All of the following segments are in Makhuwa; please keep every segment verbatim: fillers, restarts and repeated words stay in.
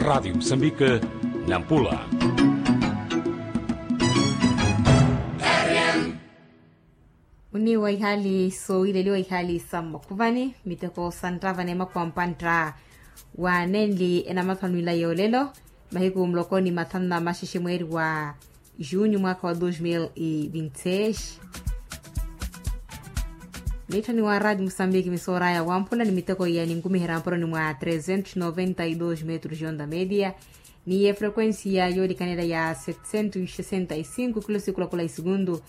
Radiyo musambika, nampula. Muniiwa ihaali soowileliwa ihaali sa mmakhuvani miteko sa nttava n'emakhuwa mpantta wa nenli enamathwanwila yoolelo, mahiku muloko ni mathanu na maxexe mweeri wa junho mwaakha wa dois mil e vinte e seis. Mitthoni wa radi musambiki misooraya wamphula ni miteko iya ninkumiherya mpuroni mwa trezentos noventa e dois metros de onda media, ni efrequencia yoolikanela ya setecentos sesenta e cinco kilosikulakola e segundu.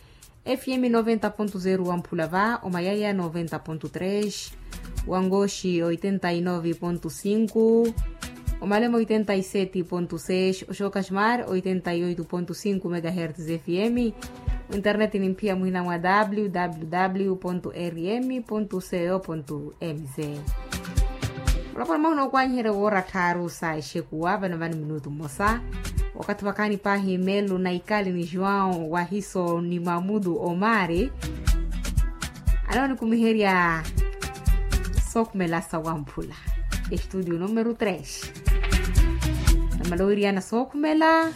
F M noventa ponto zero wamphula va omayaya noventa ponto tres, wangoxi oitenta e nove ponto cinco, omalema oitenta e sete ponto seis, oxoka xmar oitenta e oito ponto cinco megahertz F M. Internet nimphiya muhina mwa w w w ponto r m ponto c o ponto m z. Olapwana mahuna okwanyiherya woora tthaaru sa exekuwa vano vano minutu mmosa. Wakathi vakhaani paahi melu na ikali ni joão wahiso ni mamudu omari, anawanikumiherya sookhumela sa wamphula, estudio numero tres. Namala owiriyana sookhumela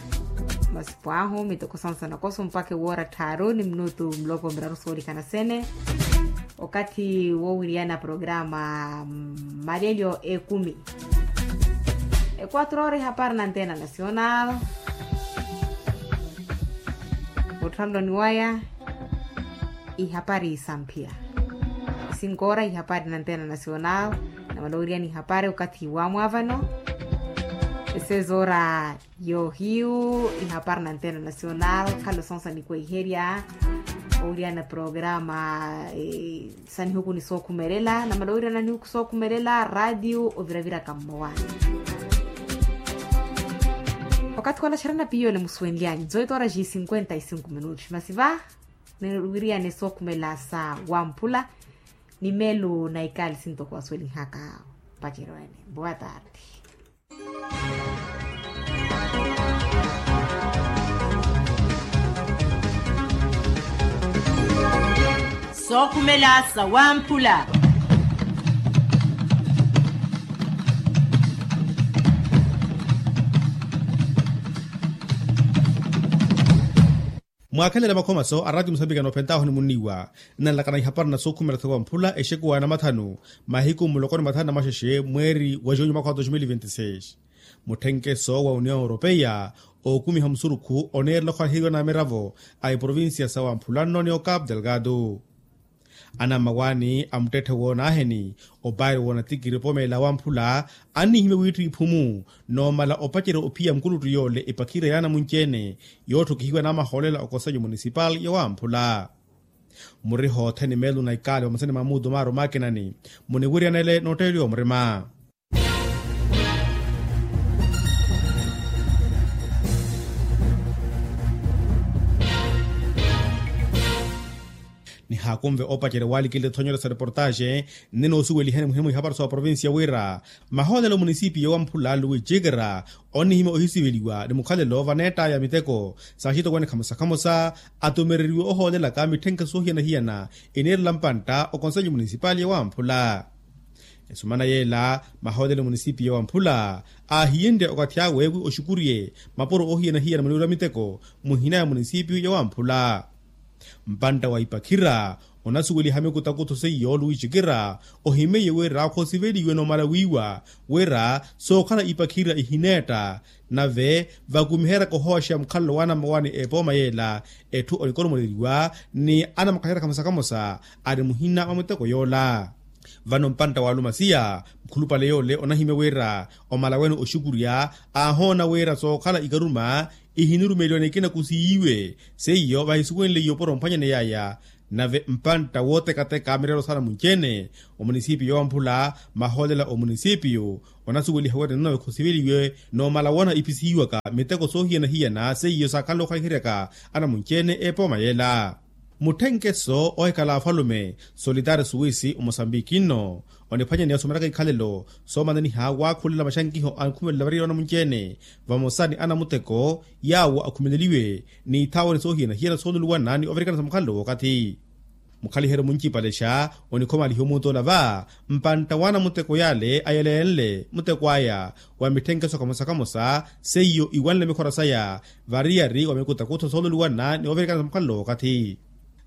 masipo ahu miteko sansa nakoso mpakha ewoora tthaaru ni minutu muloko miraru soolikhana sene. Okathi wowiriyana programa malelyo ekumi, ekuatro ora ihapari na antena nacional. Otthanloni waya ihapari samphiya, isinkora ihapari na antena nacional. Namala owiriyana ihapari okathi wamwavano, esezora yohiyu ihapari na antena nacional khalo sonsa nikweiherya. Owiriyana programa sa nihuku ni sookhumelela namala owiriyana nihuku sookhumelela radio oviraviraka mmowani. Okathi wala xerana piyo ole musuwenlyani zoito ora ji cinquenta e cinco minutos masi va niwiriyane sookhumela sa wamphula ni melu na ikali sintoko wasuwelinhaka. Pacerwene boa tarde. Sookhumela sa wamphula. Mwaakhelela makhomaso a rati musambika noophentahu ni munniiwa nnanlakana ihapari na sookhumela sa wamphula exekuwa na mathanu mahiku muloko ni mathanu na maxexe mweeri wa junho mwakha wa dos mil e vinte e seis. Mutthenkeso wa union europeia ookumiha musurukhu oneerela okhwaheriwa na miravo a eprovincia sa wamphula nno ni ocapo delgado. Anammawaani a muttetthe woonaaheni opaari woonatikiri opomela wamphula annihimya wiittha iphumu noomala opacerya ophiya mukuluttu yoole epakhira yaana munci-ene yootthokihiwa namahoolela okonselho munisipal ya wamphula. Muriho othene meelo na ikaali vamosa ni mamuutu maari omaakinani muniwiryanele nootteeliwa murima. Nihaakunve opacerya waalikinle ethonyolo sa reportaxe nne noosuwelihani muhina mwa ihapari sa oprovincia wira mahoolelo munisipiyo wa mphula luwi cikira onnihimya ohisiveliwa ni mukhalelo vaneettaya miteko sa axitokwane khamosa khamosa atumereriwe ohoolelaka mitthenke soohiyana-hiyana eniirela mpantta okonselho munisipali ya wamphula. Esumana yeela mahoolelo munisipiyo wa mphula aahiyenrye okathi awe wi oxukuriye mapuro oohiyana-hiyana muniwira miteko muhina ya munisipiyo ya wamphula. Mpantta wa ipakhira onasuweliha mikutakutho seiyo luwi cikira ohimeiye wira khosiveliwe nomala wiiwa wira sookhala ipakhira ihineetta nave vakumiheryaka ohooxeya mukhalelo waanammawaani epooma yeela etthu onikoromoleliwa ni anamakaxerya khamosa khamosa ari muhina mwa miteko yoola. Vano mpantta wa alumasiya mukhulupale yoole onahimya wira omala wene oxukurya aahoona wira sookhala ikaruma ihinirumeliwa ni ekina kusiyiwe seiyo vahisuwenleiye opuro mphwanyani yaya. Nave mpantta wootekateka mirelo saana munci-ene omunisipiyo wa mphula mahoolela omunisipiyo onasuweliha wira ninove khosiveliwe nomala woona ipisihiwaka miteko soohiyana-hiyana seiyo saakhanle okhwaiheryaka anamunci-ene epooma yeela. Mutthenkeso ohikhala afalume solitaari suwisi omosambiki nno oniphwanya ni asumelaka ikhalelo soomananiha waakhulela maxankiho ankhumelela variyari anamunci-ene vamosa ni anamuteko yaawo akhumeleliwe ni ithaawani soohiyana-hiyana sooluluwana ni ovirikana sa mukhalelo wookathi. Mukhaliheryo muncipalexa onikhomalihiwa omuutola va mpantta waana muteko yale ayelenle muteko aya wa mitthenkeso kamosa kamosa seiyo iwanle mikhora saya variyari wa mikutakutho soololiwana ni ovirikana sa mukhalelo wookathi.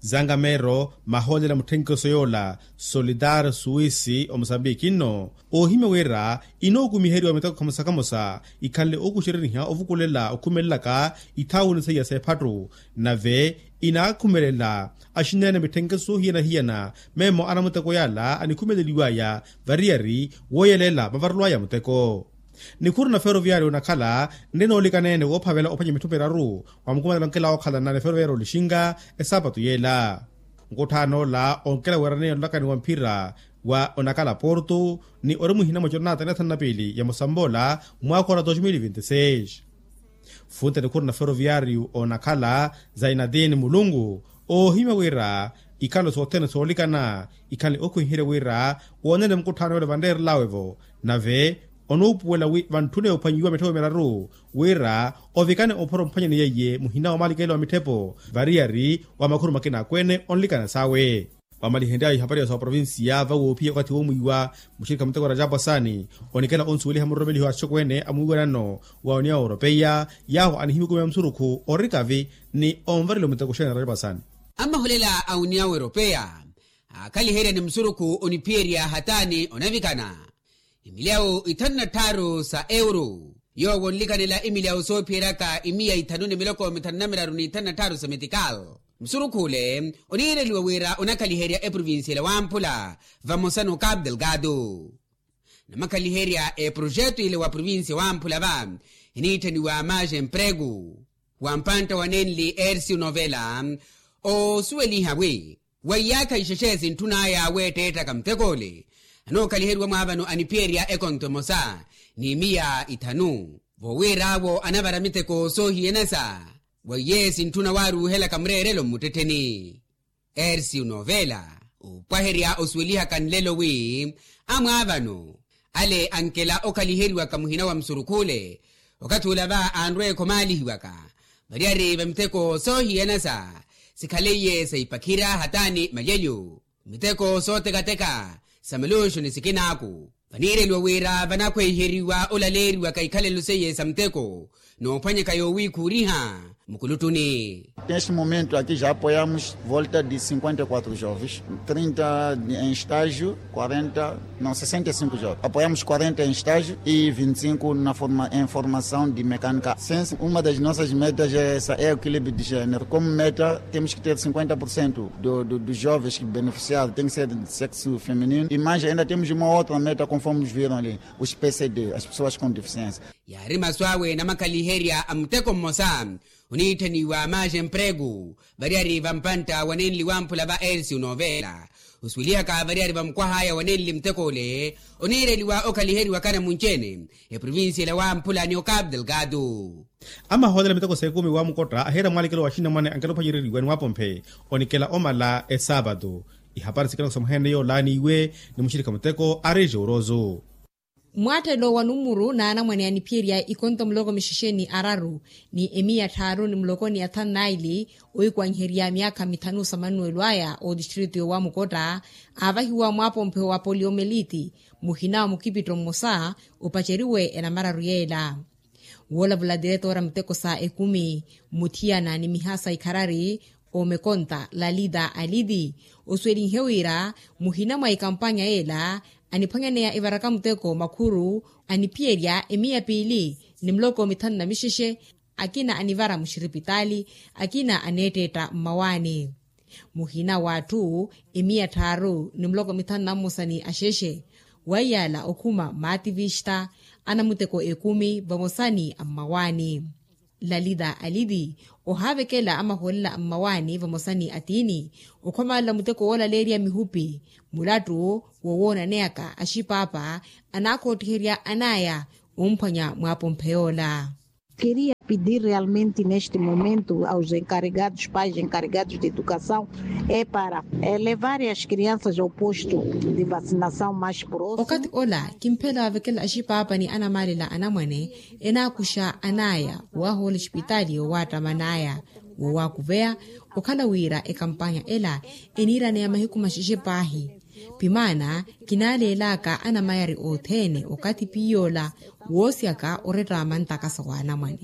Zangameero mahoolela mutthenkeso yoola solidar suwisi omosambiki nno oohimya wira inookumiheriwa miteko kamosa kamosa ikhanle ookuxereriha ovukulela okhumelelaka ithaawuni seiya s'ephattu. Nave inaakhumelela axineene mitthenkeso hiyana-hiyana meemo anamuteko yala anikhumeleliwaya variyari wooyelela mavarelo aya muteko. Nikhuru na feroviyaari onakhala nri noolikaneene woophavela ophwanya mitthu miraru wa mukumanelo onkela wookhalana ni feroviyaari olixinga esaapatu yeela. Nkutthaan'ola onkela weeraneya onlakani wa mphira wa onakhala porto ni ori muhina mwa jornata ni athanu na piili ya mosamboola mwaakha ora dos mil vinti seis. Funte nikhuru na feroviyaari onakhala zainadin mulungu oohimya wira ikhalo sothene soolikana ikhale okhwiherya wira woonene mukutthaano yole vanreerelawe-vo. Nave onuupuwela wi vantthune ophwanyiwa mitthoko miraru wira ovikane ophoro omphwanyani yeiye muhina wa omaalikelo wa mitthepo variyari wa makhuru makina akweene onlikana sawe. Wamalihenryawe ihapari ya sa oprovincia vawoopiya okathi woomwiiwa muxirikha muteko rajapu asani onikela onsuweliha muroromeliho a axokweene amwiiwanano wa uniya oropeiya yaahu anihimikumiya musurukhu orikavi ni onvareliwa muteko xeene rajapu asani. Amaholela a uniya oropeiya aakhaliherya ni musurukhu oniphiyerya hataani onavikana imilyawu ithanu na tthaaru sa euro yoowo onlikanela imilyawu soophiyeryaka imiya ithanu ni miloko mithanu na miraru ni ithanu na tthaaru sa metikal. Musurukhule oniireliwa wira onakhaliherya eprovincia ela wamphula vamosa n'okapu delgado. Namakhaliherya eprojeto ile wa provincia wamphula va eniitthaniwa maxa emprego wa mpantta wa nenli ercio novela oosuweliha wi wa iyaakha ixexe sintthun'aya weetteettaka mutek'ole anookaliheriwa mwaavano aniphiyerya ekonto emosa n'imiya ithanu. Vowiir'awo anavara miteko soohiyanasa wa iye sintthuna waaruuhelaka mureerelo mmuttettheni. Ersiu novela opwaherya osuwelihaka nlelo wi amwaavano ale ankela okhaliheriwaka muhina wa musurukhule okathi ula va anrweekha omaalihiwaka variyari va miteko soohiyanasa sikhaleiye sa ipakhira hataani malyelyo miteko sootekateka sa maluxuni sikinaaku. Vaniireliwa wira vanakhweiheriwa olaleeriwaka ikhalelo seiye sa muteko noophwanyaka yoowiikhuuriha mukuluttuni. Neste momento aqui já apoiamos volta de cinquenta e quatro jovens, trinta em estágio, quarenta, não, sessenta e cinco jovens. Apoiamos quarenta em estágio e vinte e cinco na forma em formação de mecânica. Uma das nossas metas é essa, é o equilíbrio de género. Como meta temos que ter cinquenta por cento dos jovens que beneficiaram tem que ser de sexo feminino. E mais ainda temos uma outra meta, conforme viram ali, os P C D, as pessoas com deficiência. Yaari masu awe namakhaliherya a muteko mmosa oniitthaniwa maxa emprego variyari va mpantta wa nenli wamphula va ersiu novela osuwelihaka variyari va mukwah'aya wa nenli muteko ole oniireliwa okhaliheriwaka namunci-ene eprovincia ela wamphula ni okapu delgado. Amahoolela miteko s'ekumi wa mukotta ahiira mwaalikelo wa axinamwane ankela ophwanyereriwa ni waapomphe onikela omala esaapatu. Ihapari sikina kusamuhene yoola ni iwe ni muxirikha muteko ari joorozo. Mwaattelo wa numuru n'anamwane aniphiyerya ikonto muloko mixexe ni araru ni emiya tthaaru ni muloko ni athanu n'aili oikwanyiherya myaakha mithanu sa manuwelo aya otistritu yowamukotta aavahiwa mwaapomphe wa poliomeliti muhina wa mukipitto mmosa opaceriwe enamararu yeela. Woolavula tiretora muteko sa ekumi muthiyana ni mihasa ikharari omekonta lalita aliti osuwelinhe wira muhina mwa ikampanya yeela aniphwanyaneya evaraka muteko makhuru aniphiyerya emiya piili ni muloko mithanu na mixexe akina anivara muxiripitaali akina aneetteetta mmawaani. Muhina w'atthu emiya tthaaru ni muloko mithanu na mmosa ni axexe waiyala okhuma maativixa anamuteko ekumi vamosa ni ammawaani. Lalita aliti ohaavekela amahoolela ammawaani vamosa ni atiini okhomalela muteko woolaleerya mihupi mulattu wowoonaneyaka axipaapa anaakhoottiherya an'aya omphwanya mwaapomphe yoola. Queria pedir realmente neste momento aos encarregados pais encarregados de educação é para levarem as crianças ao posto de vacinação mais próximo. Okathi ola kimphela waavekela axipaapa ni anamaalela anamwane enaakuxa an'aya waahoola exipitaali yowaattaman'aya Woowakuveya okhala wira ekampanya ela eniiraneya mahiku maxexe paahi. Pimaana kinaaleelaka anamayari othene okathi piyoola woosyaka oretta mantakasa wa anamwane.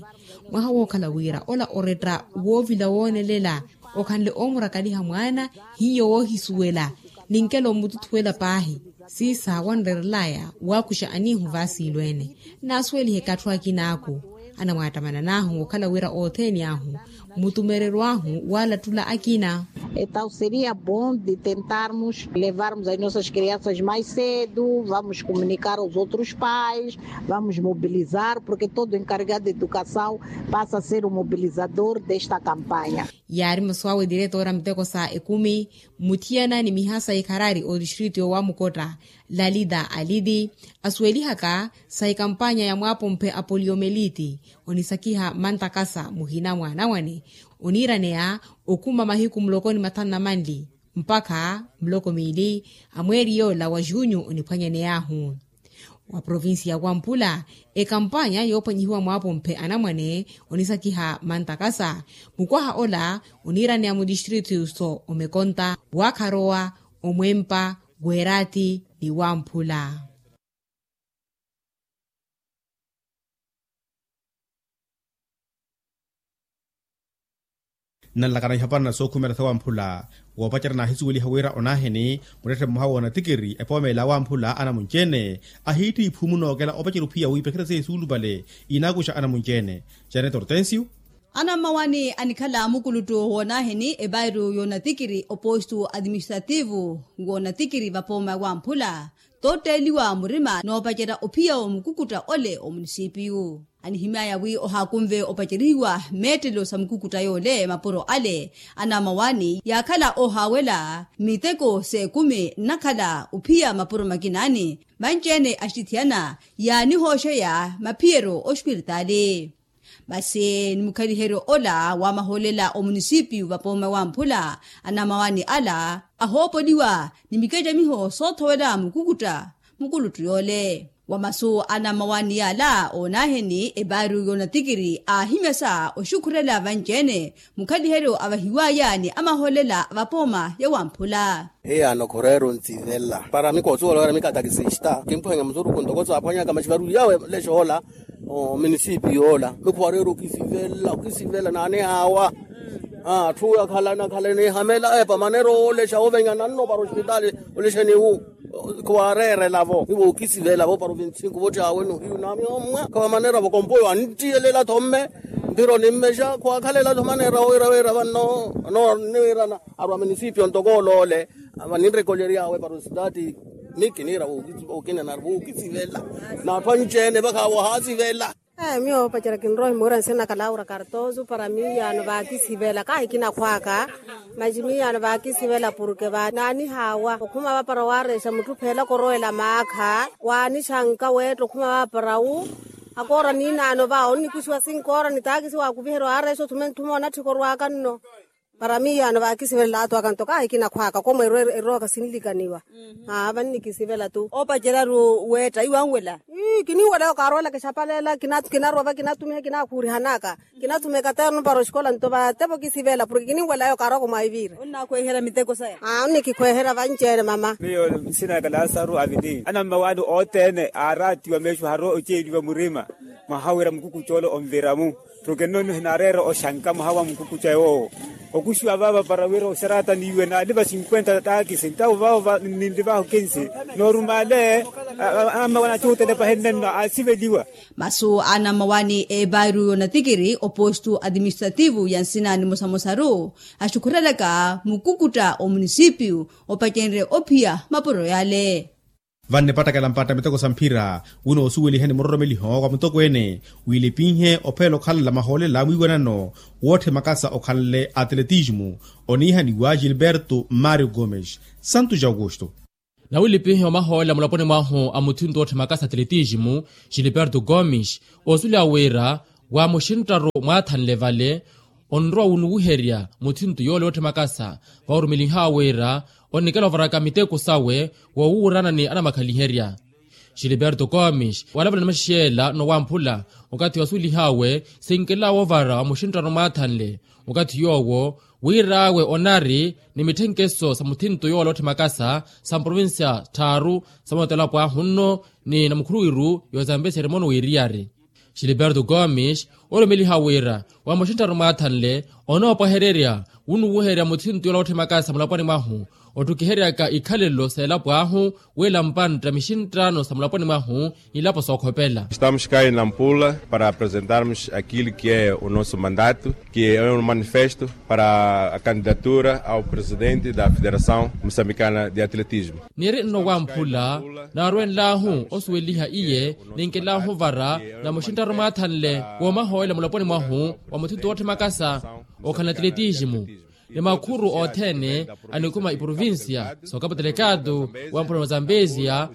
Mwaha wookhala wira ola oretta woovila woonelela okhanle oomurakaliha mwaana hiyo woohisuwela ninkela omututhuwela paahi. Siisa wanrerelaya waakuxa aniihu vaasiilweene. Naasuwelihe katthu akinaaku anamwaattamana naahu okhala wira othene ahu mutumereryo ahu waalattula akina. Entaw seria bom de tentarmos levarmos as nossas crianças mais cedo vamos comunicar aos outros pais, vamos mobilizar porque todo encarregado de educação passa a ser o mobilizador desta campanha. Yaari masu awe diretora miteko sa ekumi muthiyana ni mihasa ikharari otistritu yoowamukotta lalita aliti asuwelihaka sa ekampanya ya mwaapomphe a poliomeliti onisakiha mantakasa muhina mwa anamwane oniiraneya okhuma mahiku muloko ni mathanu na manli mpakha muloko miili a mweeri yoola wa junyu oniphwanyaney'ahu. Wa provincia ya wampula ekampanya yoophwanyihiwa mwaapomphe anamwane onisakiha mantakasa mukwaha ola oniiraneya mutistritu so omekonta waakharowa omwempa weeraati ni wamphula. Nnanlakana ihapana sookhumela sawamphula woopacerya naahisuweliha wira onaaheni muttetthe mmoha woonatikiri epoomeela awamphula anamunci-ene ahiitti iphumu nookela opacerya ophiya wiipekerya seesuulupale inaakuxa anamunci-ene. Janet hortensio. Anammawani anikhala mukuluttu woonaaheni epairu yoonatikiri opostu atiministrativu woonatikiri vapooma wamphula totteeliwa murima noopacerya ophiya omukukutta ole omunisipiyu. Anihimyaya wi ohaakunve opacerihiwa meettelo sa mukukutta yoole mapuro ale anamawani yaakhala ohaawela miteko s'ekumi nnakhala ophiya mapuro makinaani vanci-ene axitithiyana yaanihooxeya maphiyeryo ospiritaali. Masi ni mukhaliheryo ola wa mahoolela omunisipiyu vapooma wamphula anamawani ala ahoopoliwa ni mikecamiho soothowela mukukutta mukuluttu yoole. Wa masu a namawani yaala oonaheni epaari yoonatikiri aahimyasa oxukhurela vanci-ene mukhaliheryo avahiwaya ni amahoolela a vapooma ya wamphula. Hiyaano khureera ontsivela para mikosuwela wira mikatakisista kimphwanya musuruku ntoko saaphwanyaka maxivaru yawe lexoola. Ominisipi yoola mikhuwareera okisivela okisivela naanihaawa. Atthu akhalana akhalana ehamela epa manera oolexa ovenyana nno para ospitali olexeni wu. Khuwareerela-vo ni vookisivela-vo para ovintsinku votthaawe nohiyu naami ommwa khawamanera-vo kompoyo anttiyelela-tho mme mpiro nimmexa khuwakhalela-tho manera wira wira vanno. Niwirana arwa minisipio ntoko oloole vaninrekolery'awe para ositaati. Ni kiniira vookina nari vookisivela n'atthu anci-ene vakhawa ohaasivela. Miyo opacerya kinrowa ohimuwira nsina kalaura kartosu para miiyaano vaakisivela kahi kinakhw'aka. Masi miiyaano vaakisivela purke naanihaawa okhuma vapara waarexa mutthu pheelaka orowela maakha waanixanka weetta okhuma vapara wu. Akoora niinaano va onnikuxiwa sinkoora ni taakisi waakuviherya waarexa othume ntthuma onatthika orw'aka nno. Para miiyaano vaakisivelela athu aka nto kahi kinakhw'aka komwe erowaka sinlikaniwa. Aa vannikisivela-tu. Opacerya-ru weetta iwanwela. Ii kininwela yookarowelaka exapaleela kinarwa va kinatumiha kinakhuurihanaka. Kinathuma ekaternu para oxikola nto vatepa okisivela porke kininwela yookarowaka omwaiviira. Onnakhweherya miteko saya. Aa onnikikhweherya vanci-ene mama. Miyo nsina aka lasaru avili anammawaani othene aaraatiwa meexo haro oceeliwa murima. Mwaha wira mukukucoolo onvira-mu. Porke nno nno hinaareera oxanka mwaha wa mukukuca yoowo. Okuxiwa vaava para wira oxarata niiwe naaliva cinkwenta taakisi ntawo vaavo ninlivaho kinsi. Norumale. Amawana acuhutelepa henne nno aasiveliwa. Masu a anamawani eepaaru yoonatikiri opostu atiministrativu ya nsina nimosamosaru axukhurelaka mukukutta omunisipiyu opacenrye ophiya mapuro yale. Vannipattakela mpatta miteko sa mphira wino osuweliheni muroromeliho wa mutokweene wiilipinhe ophela okhalala mahoolela mwiiwanano wootthi makasa okhanle atletismu oniihaniwa gilberto mario gomes. Santu ja augusto. Nawilipinhe omahoolela mulaponi mwahu a muthinto wootthi makasa atletismu gilberto gomes osuleya wira wa muxinttaru mwaathanle vale onrowa wunuwiherya muthinto yoole wootthi makasa vawurumeliha wira onnikela ovaraka miteko sawe wowuurana ni anamakhaliherya. Xiliberto komis walavula ni maxixela nowamphula okathi wasuwelih'awe sinkela woovara wa muxinttano mwaathanle okathi yoowo, wir'awe onari ni mitthenkeso sa muthinto yoola otthimakasa sa mprovincia tthaaru sa mootela pwaahu nno ni namukhuluwiru yoozambesiyari mono wiiriyari. Xiliberto komis olumeliha wira wa muxinttano mwaathanle onoopwahererya wunuwuherya muthinto yoola otthimakasa mulaponi mwahu otthukiheryaka ikhalelo s'elapo ahu wila mpantta mixinttano sa mulaponi mwahu ilapo sookhopela. Estamos cá em nampula para apresentarmos aquilo que é o nosso mandato, que é um manifesto para a candidatura ao presidente da federação moçambicana de atletismo. Niri nno wamphula naarwenlahu osuweliha iye ninkelahu vara na muxinttano mwaathanle woomahoyela mulaponi mwahu wa muthinto wotthimakasa okhala na atletismo ni makhuru othene anikhuma iprovincia sookapo telekatu wa mpulano wa zambezia.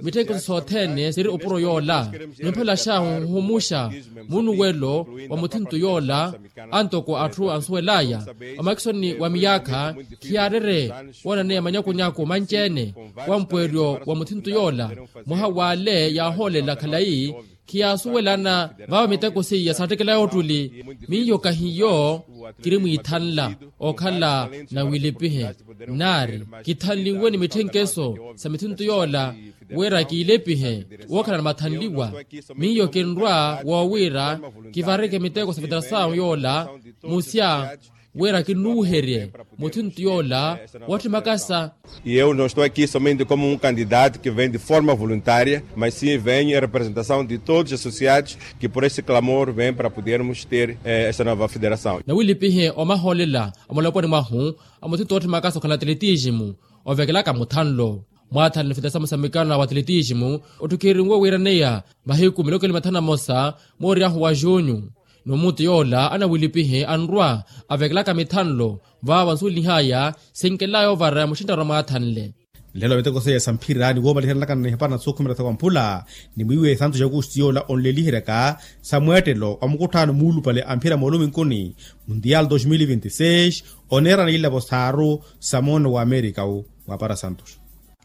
Mitthenkesi sothene siri opuro yoola ni mphela xahu nhumuxa munuwelo wa muthinto yoola antoko atthu ansuwel'aya omakisoni wa miyaakha khiyaarerye woonaneya manyakunyaku manci-ene wa mpweeryo wa muthinto yoola mwaha w'ale yaahoolela khalayi khiyaasuwelana vaavo miteko seiya saattekel'aya ottuli. Miyo kahiyo kiri mwiithanla okhala na wilipihe naari kithanliwe ni mitthenkeso sa mithinto yoola wira kiilipihe wookhala na mathanliwa miyo kinrwa woowiira kivareke miteko sa federasawu yoola musya wira kinnuuherye muthinto yoola wotthimakasa. E eu não estou aqui somente como um candidato que vem de forma voluntária, mas sim vem em representação de todos os associados que por esse clamor vêm para podermos ter esta nova federação. Nawilipihe omahoolela a mulaponi mwahu a muthinto wotthimakasa okhala na atletismo ovekelaka muthanlo mwaathanle federasamu sa mikana wa atletismo otthukhirinwe wiiraneya mahiku miloko ili mathanu na mosa mooryahu wa junyu. Ni omuti yoola anawilipihe anrwa avekelaka mithanlo vaavo ansuwelih'aya sinkel'aya ovara ya muxinttano mwaathanle. Nlelo miteko seiya sa mphira ni woomaliheryanaka ni hepana sookhumela sa wamphula ni mwiiwe santu ja kusti yoola onleliheryaka sa mweettelo wa mukutthaano muulupale a mphira mooluminkuni mundial dos mil vinti seis oneerana ilapo saaru sa moono wa amerika wu. Mwapara santu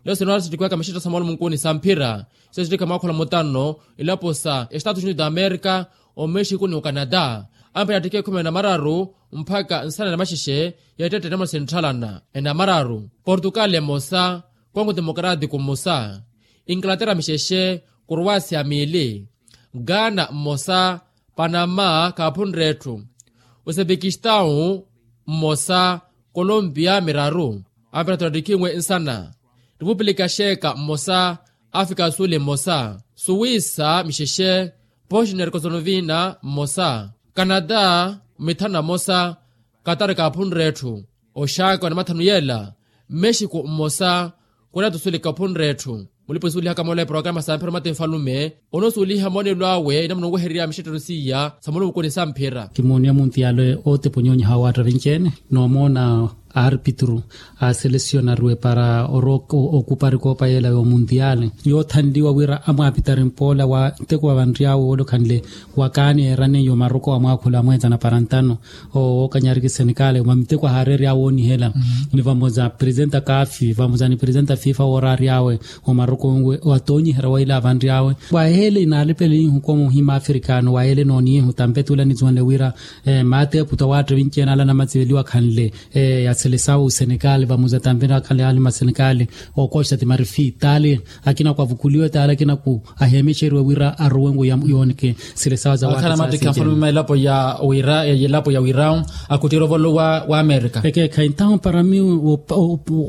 leo sinoora sittikiwaka mixitto sa mooluminkuni sa mphira sesittikha mwaakhula mutano ilapo sa estatus unidos da amerika omexico ni ocanada. Ampira attikha ekhumi na mararu mpakha nsana na maxexe ya ettette enamuna sinttalana enamararu portugal emosa kongo democratico mmosa inglaterra mixexe croacia miili ghana mmosa panama kaaphunre etthu uzebekistau mmosa colombia miraru ampira tottikhinwe nsana repupulika xeeka mmosa afrika suli mmosa suwisa mixexe bosnia herkosonovina mmosa canada mithanu na mmosa katari kaaphunre etthu oxaaka wa namathanu yeela mexico mmosa koreya tu suli kaaphunre etthu. Mulipa osuwelihaka moola eporokaramu sa mphira mati nfalume onoosuweliha moonelo awe inamuna onwehererya mixettano seiya sa mooluminkuni sa mphira. Kimooniya muntiyaale ooteponyonyiha awaatta vinci-ene noomoona aarpitru a selesionariwe para oroka okupari koopa yeela yoomuntiyaale yoothanliwa wira amwaapitari mpoola wa nteko wa vanriy'awe woolokhanle wakaani eeraneiye omaroko wa mwaakhula amweetana para ntano owookanyariki senekale mwa miteko ahaareerya awoonihela ni vamoza presenta kafi vamoza ni presenta fifa wooraary'awe omaroko nwe watoonyiherya wa ila avanriy'awe waheele inaalepele ihu komuhima afrikano waheele nooniihu tampetula nisuwenle wira maate eputa waatta vinci-ene ala namatsiveliwa khanle ya selesawu senekale vamoza tampetula khanle ali masenekale okosta timarifi taale akina kwavukuliwe taale akina ku aheemexeriwe wira arowe ngu yooneke sile sawa za watta sa senteni. Maelapo ya wira elapo ya wira akutira ovolo wa amerika. Ekeekha entaho para mi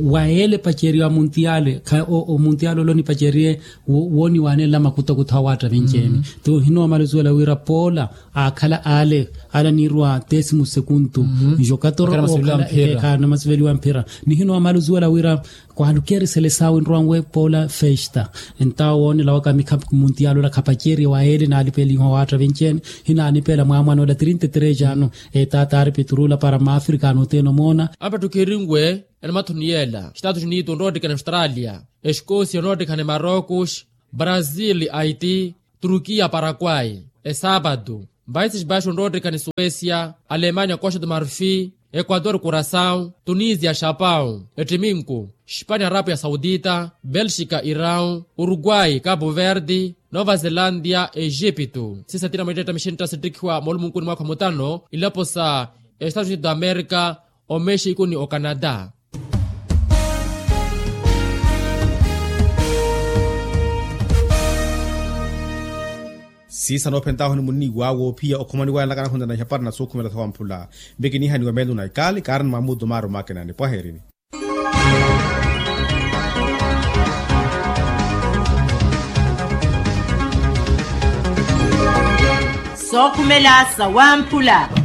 waele paceriwa muntiale omuntiale ole onipaceriye wooniwaanela makutakutha wa watta vinci-ene. Tu hinoomala osuwela wira poola aakhala ale ale anirwa tesimu sekuntu njo katoro ookhala ekeekha namasiveliwa mphira. Nihinoomala osuwela wira kwaalukeerisele sawe nrwanwe poola festa entawo woonela waka mikhapu muntialo ola khapaceriye waele naalipeliha owaatta vinci-ene. Hinaanipela mwaamwana ola trinta e três ano etaata aari piturula para maafrikano oteena omoona. Ampattukirinwe enamathoni yeela estatus unidos onroottikana australia, escosia onroottikana marocos, brazil, haiti, turkiya, paraguay, esapatu, países baixos onroottikana suécia, alemanya, costa do marfi, Ekuator kurasaw, tunisia xapaw, ettiminku, xipania arapu ya sawutita, belxika iraw, uruguay kapu verdi, nova zelandia exipitu. Sisatina mwettetta mixintta sittikhiwa moolumunkuni mwaakha mutano, ilapo sa estatus unidus d'amerika, omexiku ni okanada. Siisa noophentahu ni munniiwa woophiya okhumaniwaya naka nakhunta na ihapari na suukhumela sawamphula. Mbe kiniihaniwa meelo na ikaali kaari ni maamuutu maari omaakenani pwaheerini. Sookhumela sawamphula.